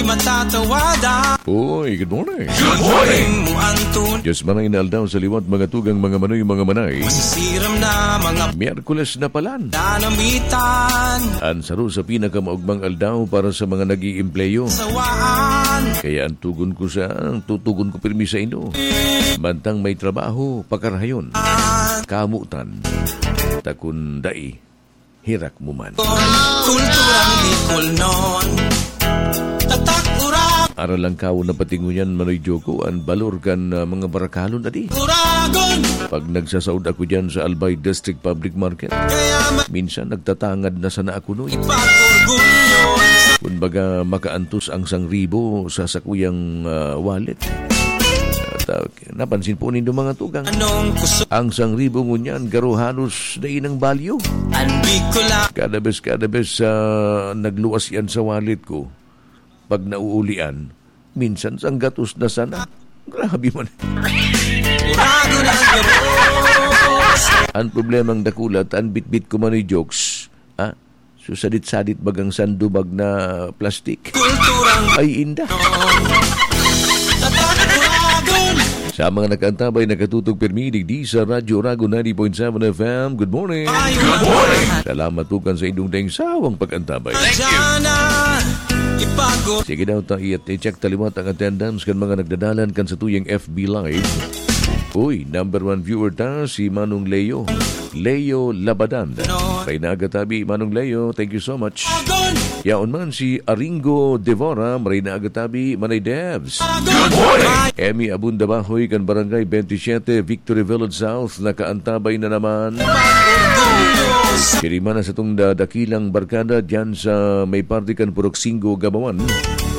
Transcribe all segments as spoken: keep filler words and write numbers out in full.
Matatawadan. Uy, good morning. Good morning. Mo ang tun- Diyos manay na aldaw sa liwat, mga tugang, mga manoy, mga manay. Masisiram na mga Miyerkules na palan. Nanamitan. An saro sa pinakamaugmang aldaw para sa mga nag-iimpleyo. Sawaan. Kaya ang tugon ko sa, ang tutugon ko pirmi sa inyo. Mantang may trabaho, pakarahayon. Kamutan. Takundai. Herak mo man. Kulturang Bicol noon. Tatak Uragon. Aral lang kawo na patingoyan, Manoy Joko, an balor kan, ah, mga barakalon, adi. Uragon. Pag nagsasaod ako diyan sa Albay District Public Market, Kaya ma- minsan nagtatangad na sana ako, Noy. Ipag-orgulyo. Kumbaga, makaantos ang sangribo sa sakuyang, ah, wallet. At, ah, napansin po nindo, mga tugang. Anong kusog? Ang sangribo ngunyan, garo halos dai nang balyo. An Bicol a- Kada bes, kada bes, ah, nagluwas yan sa wallet ko, pag nauulian, minsan sanggatos na sana. Grabe man. Uragon ang gabos. Ang problemang dakula, ta an bitbit ko man ay jokes. Ha? So, sadit-sadit bagang sandubag na plastik. Kulturang Ay, inda. Tatak Uragon. Sa mga nakaantabay, nakatutok pirmi digdi sa Radyo Uragon ninety point seven F M. Good morning. Good morning. Salamat tukan sa inyong daing sawang pag-antabay. Diyan na ipag- Sige daw, ta, i-, i-check ta liwat ang attendance kan mga nagdadalan kan satuyang F B Live. Uy, number one viewer ta, si Manong Leo. Leo Labadan. Maray na aga tabi, Manong Leo. Thank you so much. Yaon man si Aringo Devora, maray na aga tabi, Manay Devs. Good morning. Emmy Abunda Bahoy, kan Barangay twenty-seven, Victory Village South, nakaantabay na naman. Kini man ang satong da-, dakilang barkada dyan sa may parte kan Purok Singgo, Gabawan.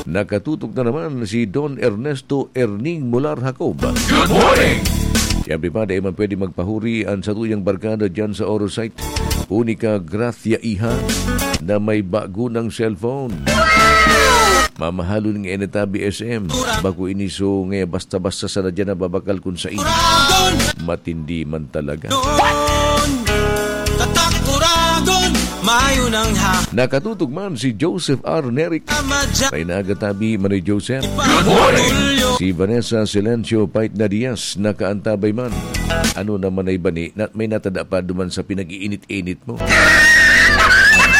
Nakatutok na naman si Don Ernesto Erning Mular Jacob. Good morning! Siyempre pa, di man pwede magpahuri ang satuyang barkada dyan sa Orosite. Unica Gracia Iha na may bago ng cellphone. Mamahalon nga inatabi S M. Bako ini so nga basta-basta sana dyan nababakal kun sain. Matindi man talaga. Tatak Uragon, mayo nang ha- Nakatutok man si Joseph R. Neric. Maray na aga tabi, Manoy Joseph. Good morning! Si Vanessa Silencio Paitna Diaz, nakaantabay man. Ano naman ay bani, na, may natada pa duman sa pinag-iinit-init mo.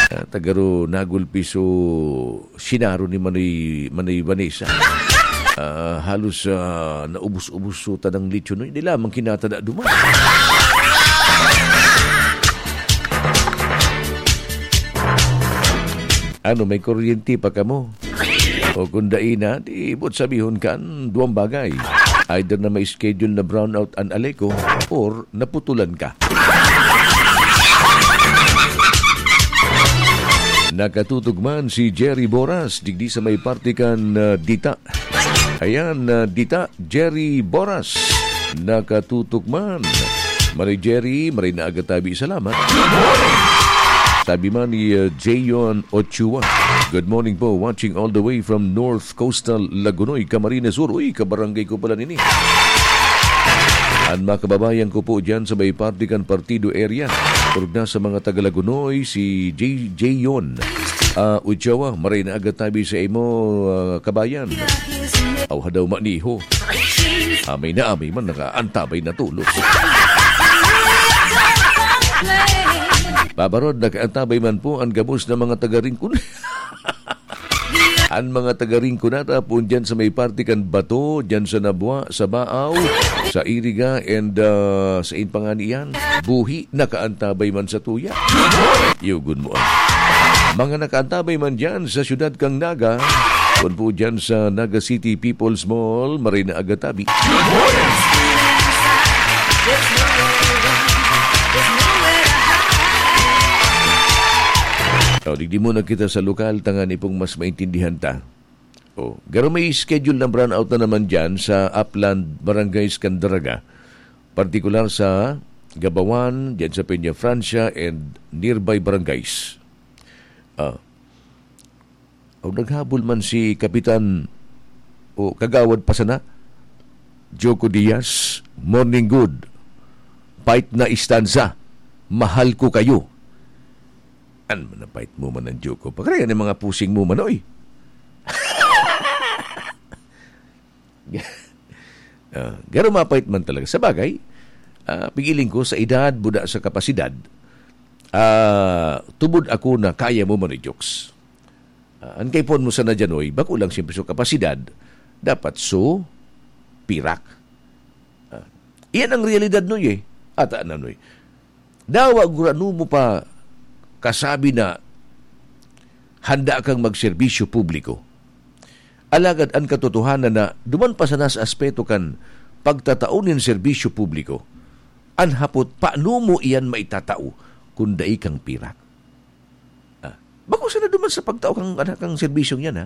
Ah, tagaro nagulpi so sinaro ni Manoy, Manoy Vanessa. Ah, halos, ah, naubos-ubos so tanang lechon, no? Hindi lamang kinatada duman. Ano, may kuryente pa kamo? O kung dai na, di buot sabihon kan duwang bagay. Either na may schedule na brownout an Aleco or naputulan ka. Nakatutok man si Jerry Boras, digdi sa may parte kan, ah, Dita. Ayan, ah, Dita, Jerry Boras. Nakatutok man. Manoy Jerry, maray na aga tabi, salamat. Sabi man ni, ah, Jayon Ochoa, "Good morning po, watching all the way from North Coastal Lagonoy, Camarines Sur." Uy, kabarangay ko pala nini. An mga kababayan ko po dyan sa may parte kan Partido area. Orog na sa mga taga Lagonoy, si J-, Jayon, ah, Ochoa, maray na aga tabi sa imo, ah, kabayan. Aw, hadaw maniho. Amay na amay man, nakaantabay na tulos. Babarod, nakaantabay man po ang gabos na mga taga Rincon. An mga taga Rinconada po dyan sa may parte kan Bato, dyan sa Nabua, sa Baaw, sa Iriga, and, ah, sa in pa ngani yan, Buhi, nakaantabay man sa tuya. Yugon mo, ah. Mga nakaantabay man dyan sa siyudad kan Naga, kun po dyan sa Naga City People's Mall, maray na aga tabi. O, digdi muna kita sa lokal, tanganing mas maintindihan ta. O, garo may schedule na brownout na naman dyan sa Upland Barangays kan Daraga, partikular sa Gabawan, dyan sa Peña Francia, and nearby barangays. Ah. O, naghabol man si Kapitan o Kagawad pa sana, Joko Diaz, "Morning good. Fight na istanza. Mahal ko kayo." An, napait mo man ang joke ko. Pagkarayan ng mga pusing mo man, oy. Ah, garo mapait man talaga. Sa bagay, ah, pigiling ko, sa edad, buda sa kapasidad, ah, tubod ako na kaya mo man i-jokes. Ah, an kaipuhan mo sana dyan, oy, bako lang siyempre so kapasidad, dapat so pirak. Ah, iyan ang realidad, Noy, eh. Ata na, Noy. Dawa gurano mo pa kasabi na handa kang magserbisyo publiko. Alagad an katotohanan na duman pa sana sa aspeto kan pagtatao nin serbisyo publiko, an hapot, paano mo iyan maitatao kun dai kang pirak? Ah, bako sana duman sa pagtao kang, kang serbisyong yan, ha?